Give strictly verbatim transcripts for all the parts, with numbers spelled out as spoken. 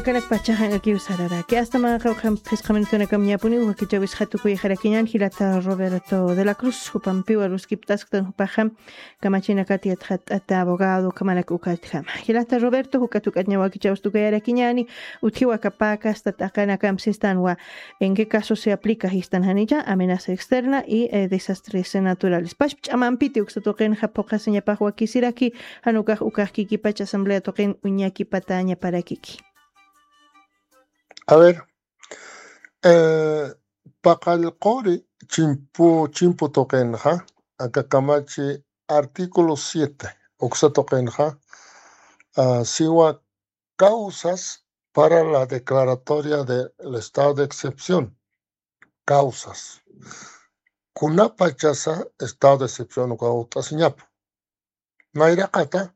Kanak pachaxa ankakiw sararaki. Asta mä qawqha phisqa minutunakam ñapuniw wakichäwis jatukuyxarakiñän jilata Roberto de la Cruz, jupampiw aruskiptasktan jupaxa kamachinakat yatxatt'ata abogado, ukhamanak ukatjama. Jilata Roberto, jukat juk'atña wakichäwis tukayarakiñäni, utjiwa aka pä kasta t'aqanakamp sistanwa, ¿en qué caso se aplica sistan janicha? Amenaza externa y, eh, desastres naturales. Pachpa ch'amampiti uksa tuqinxa phuqhasiñapax wakisiraki, jan ukax ukax kikipach asamblea tuqin uñakipatäñaparakiki. A ver, eh, paqallquri chimpu, chimpu tuqinxa, aka kamachi artículo siete, uksa tuqinxa, ah, siwa causas para la declaratoria del estado de excepción. Causas. Kunapachasa estado de excepción uka ut'asiñapa. Nayraqata,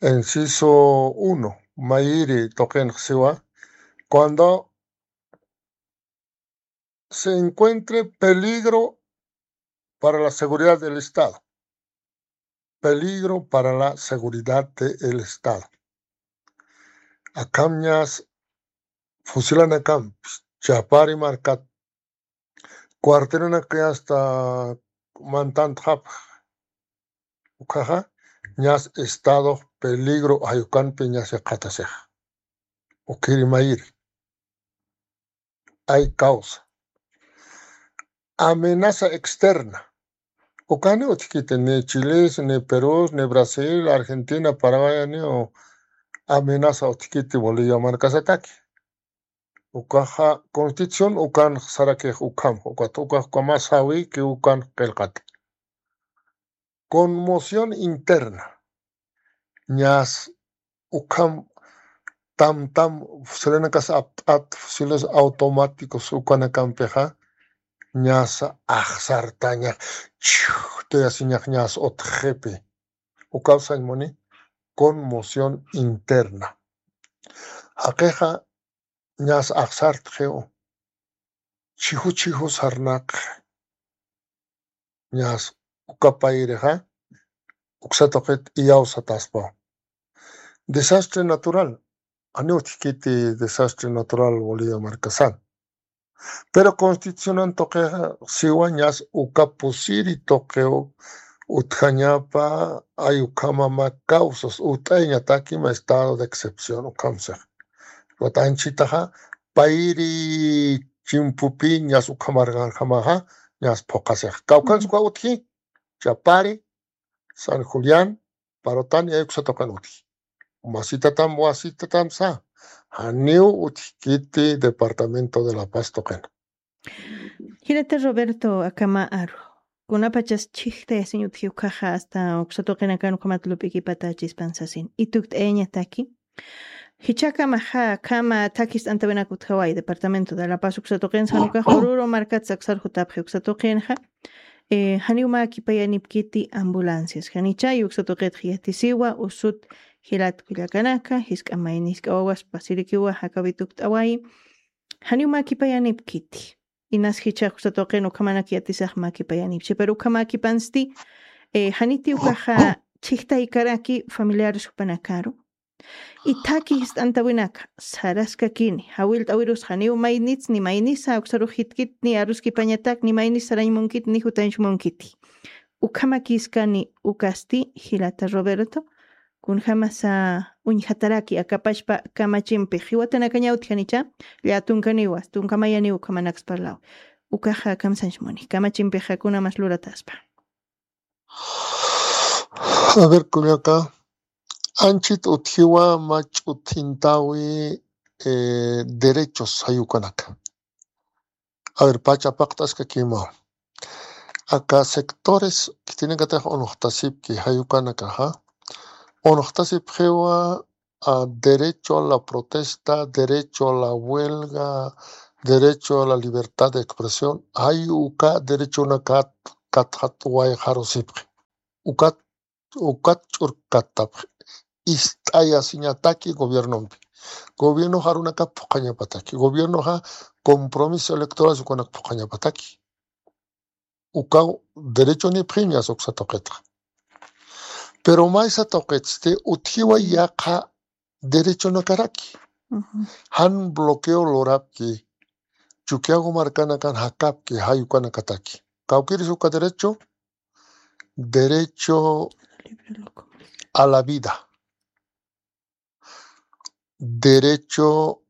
inciso uno, mayiri tuqinx siwa, cuando se encuentre peligro para la seguridad del Estado. Peligro para la seguridad del Estado. Akham ñas fusilanakamp, Chapari markat, cuartelanaka hasta mantantxapx. Ukhaxa, ñas estado peligro jayukanpi ñas yaqatasix. Ukiri mayiri. Hay causa. Amenaza externa. Ukani utjkiti ni Chilis, ni Perus, ni Brasil, Argentina, Paraguay, ni amenaza utjkiti Bolivia markasataki. Ukaxa constitución ukan sarakix ukham, ukat ukax ukamasawi ki ukan qillqati. Conmoción interna. Ñas ukham tam tam fusilanakasa apt'at, fusiles automáticos ukanakampixa, ñas axsartañax, chhutayasiñax ñas utxipi. Ukaw sañ muni, conmoción interna. Jaqixa ñas axsartxiw, chhiju chhiju sarnaqxi. Ñas uka payirixa, uksa tuqit iyawsataspaw. Desastre natural, janiw utjkiti desastre natural Bolivia markasan. Pero constitucionan tuqixa siwa ñas uka pusiri tuqiw utjañapa, ay ukhama mä causas ut'ayañataki mä estado de excepción ukham six. Ukat anchitaxa payiri chimpupi ñas ukhamarqanjamaxa ñas phuqhasix. Kawkhansa uka utji, Chapari, San Julián, Parotani, ay uksa tuqin utji. Masitatam, wasitatam sa, janiw utjkiti Departamento de La Paz tuqin. Jilata Roberto, akhama aru. Kunapachas chhijtayasiñ utji ukaxa hasta uksa tuqinakan ukhamat lup'ikipatachispan sasin. Itukt'ayañataki. Jichhakamaxa, akhama thakhi ist'antawinak utjawayi Departamento de La Paz uksa tuqin san ukax Oruro markat saksar jutapxi uksa tuqinxa. Eh, janiw mä kipayanipkiti ambulancias. Janichay uksa tuqitx yatisiwa, usut jilat kullakanaka, jisk'a mayni jisk'a wawas pasirikiwa, jakawi tukt'awayi. Janiw mä kipayanipkiti. Inas jichhax uksa tuqin ukhamanak yatisax mä kipayanipchi. Pero ukhama kipansti, eh, janiti ukaxa chhijtaykaraki familiares jupanakaru. Ithaki jist'antawinaka, saraskakini, jawillt'awirus janiw maynits ni maynisa uksarux jitkit ni aruskipañatak ni maynis sarañ munkit ni jutañch munkiti. Ukhamakiskani ukasti, jilata Roberto, kunjamasa uñjataraki aka pachpa kamachimpix, jiwatanakañaw utjanicha, llätunkaniwa, tunka mayaniw ukhamanaksparlaw. Ukaxa kamsañch muni, kamachimpixa kunamas lurataspa. A ver, kullaka, anchit utjiwa mach'uthintawi, eh, derechos jayukanaka. A ver, pacha paqt'askakima. Aka sectores khitinakatix unuxtasipki jayukanakaxa. Unuxtasipxiwa, a, derecho a la protesta, derecho a la huelga, derecho a la libertad de expresión, jay uka derechonakat katxat wayxarusipxi. Ukat, ukat ch'urkattapxi. Ist'ayasiñataki gobiernompi. Gobiernoxa arunakap phuqhañapataki. Gobiernoxa compromiso electoral ukanak phuqhañapataki. Ukaw derechonipxiñas uksa tuqitxa. Pero maysa tuqitsti utjiwa yaqha derechonakaraki. Jan bloqueo lurapki, Chukiyawu markanakan jakapki, jay ukanakataki. Kawkïrisa uka derecho, derecho a la vida, derecho,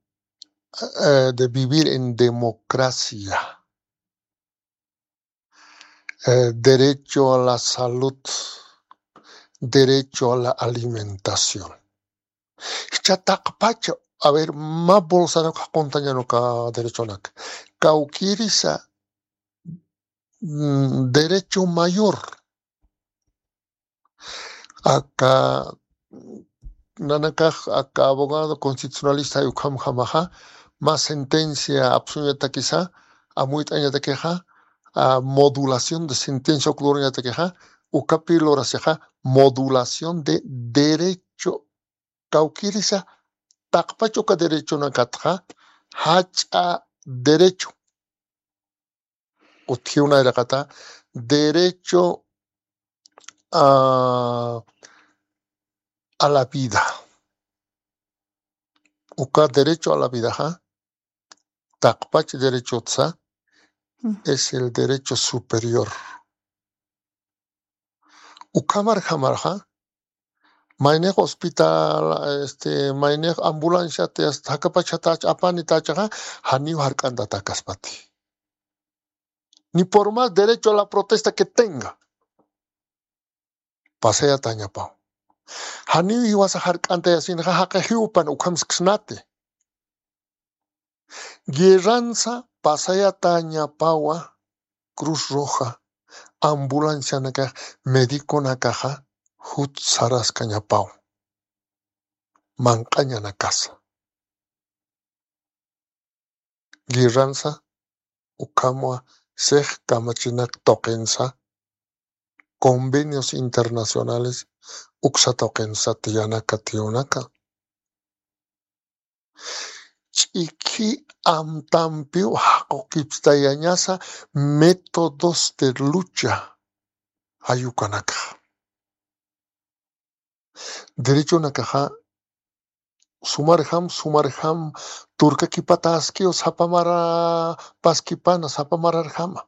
eh, de vivir en democracia, eh, derecho a la salud, derecho a la alimentación. Jichha taqpacha, a ver, mä bolsarak jaqunt'añäni uka derechonak. Kawkïrisa, mm, derecho mayor. Aka nanakax, aka abogado constitucionalista ukhamjamaxa, mä sentencia apsuñatakisa, amuyt'añatakixa, a, modulación de sentencia uk lurañatakixa, ukapi lurasixa, modulación de derecho. Kawkïrisa, taqpach uka derechonakatxa, jach'a derecho. Utjiw nayraqata, derecho a, a la vida. Uka derecho a la vidaxa, taqpach derechotsa, es el derecho superior. Ukhamarjamarxa, maynix hospital, este, maynix ambulancia, te hasta jakapachatach, apanitächaxa, janiw jark'antatakaspati. Ni por más derecho a la protesta que tenga, pasayatañapaw. Janiw jiwasa jark'antayasinxa, jaqixiw jupan ukham siksnati. Guerransa pasayatañapawa, Cruz Roja, ambulancianakax, mediconakaxa, jut saraskañapaw. Manq'añanakasa. Guerransa, ukhamwa, six kamachinak tuqinsa, convenios internacionales, uksa tuqinsa tiyanaka tiyunaka. Ch'iki amtampiw jaqukipstayañasa métodos de lucha jay ukanakaxa. Derechonakaxa sumarjam, sumarjam turkakipataskiw sapa mara paskipana, sapa mararjama.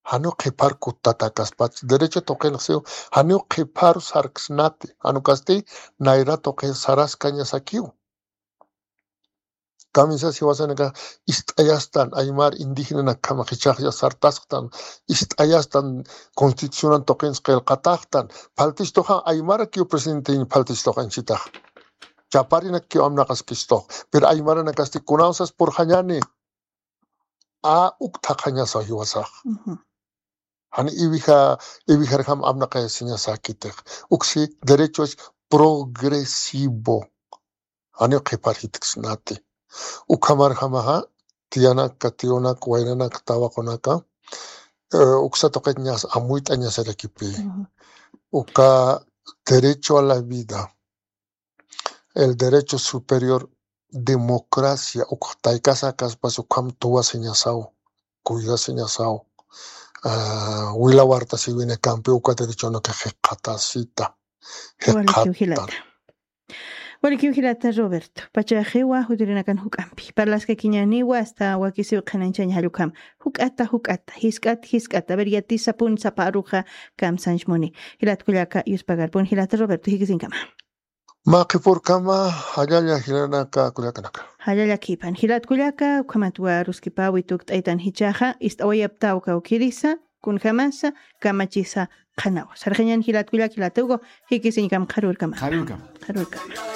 Janiw qhiphar kuttatakas, derecho tuqinxsiw, janiw qhiphar sarksnati, jan ukasti nayra tuqi saraskañasakiw. Kamisas jiwasanakax ist'ayastan, aymar indígenanak khamax jichhax ya sartasktan, ist'ayastan, constitucionan tuqins qillqataxtan, phaltistuxa aymarakiw presidentiñ phaltistuxa inchitax. Chaparinakkiw amnaqaskistux, pero aymaranakasti kunawsas purxañäni, a uk thaqhañasa jiwasax. Jani iwija, iwijarjam amnaqayasiñasäkitix. Uksi derecho es progresivo. Janiw qhiphar jitksnati. Ukhamarjamaxa, tiyanaka, tiyunaka, waynanaka, tawaqunaka, eh, uksa tuqitñas amuyt'añasarakipi. Uka derecho a la vida, el derecho superior, democracia, uk taykasakas pas ukham tuwasiñasaw, cuidasiñasaw, ah, wila wartasiwinakampi uka derechonaka jikxatasita, jikxatan. Walikiw jilata. Walikiw jilata Roberto. Pachaxiwa jutirinakan juk'ampi. Parlaskakiñäniwa hasta wakisiw qhanañchaña jall ukham. Juk'ata, juk'ata, jisk'at, jisk'at. A ver, yatisa pun sapa aruxa kamsanch muni. Jilat kullaka, yuspagarpun, jilata Roberto, jikisiñkama. Mä qhipürkama, jallalla jilanaka kullakanaka. Jallalla khipan. Jilat kullaka, ukhamatwa aruskipäwi tukt'aytan jichhaxa, ist'awayaptaw kawkïrisa, kunjamasa, kamachisa qhanaw. Sarxiñan jilat kullaka, jilat Hugo, jikisiñkam qharürkama. Qharürkama. Qharürkama.